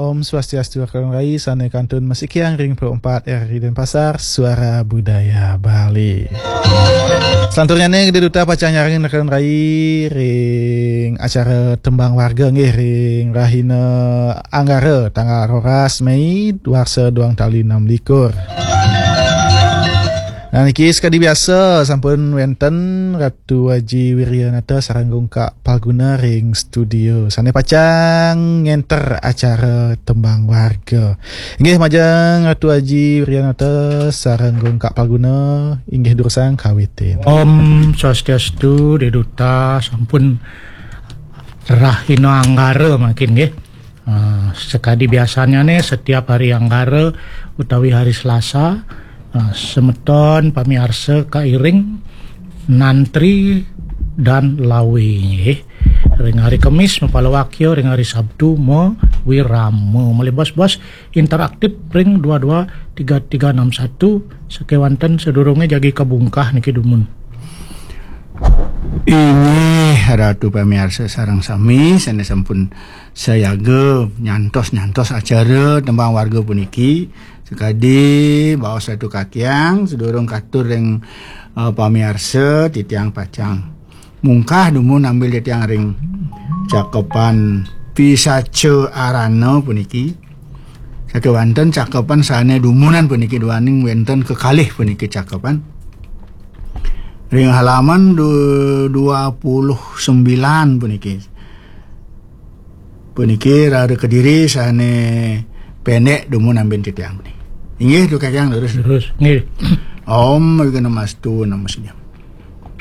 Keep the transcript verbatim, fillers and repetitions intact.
Om Swastiastu, Rekan Rai, sané kantun masikiang ring Pro empat R R I Denpasar, Suara Budaya Bali. Selanturnya nih, Gede Duta pacang nyarengin Rekan Rai ring acara Tembang Warga nggih ring rahina Anggara tanggal roras Mei warsa duang tali enam likur. Nah, niki sekadi biasa sampun wenten Ratu Aji Wiryanata sareng Gungkak Palguna ring studio. Sané pacang ngenter acara Tembang Warga. Inggih majeng Ratu Aji Wiryanata sareng Gungkak Palguna, inggih durusang kawitin. Om Swastiastu, Gede Duta, sampun rahina Anggara mangkin nggih. Ah, sekadi biasanya nih, setiap hari Anggara utawi hari Selasa, ah, semeton pamiarsa kairing nantri dan lawe nggih. Ring hari Kemis mapalawakya, ring hari Sabtu mawirama. Malih bos-bos interaktif ring dua dua tiga tiga enam satu, sakéwanten sadurungé jagi kabungkah niki dumun. Inggih Ratu pamiarsa sareng sami sané sampun sayaga nyantos-nyantos acara Tembang Warga puniki. Sekadi baos Ratu Kakiang, sadurung katur ring, eh, pamiarsa, titiang pacang mungkah dumun ambil titiang ring cakepan Pisaca Arana puniki. Sakéwanten cakepan sané dumunan puniki duaning wenten kekalih puniki cakepan. Ring halaman du-, dua puluh sembilan puniki. Puniki rara kediri sané pendek dumun ambin titiang puniki. Inggih, Ratu Kakiang, terus. Terus, nggih. Om Awighnamastu Namo Sidham.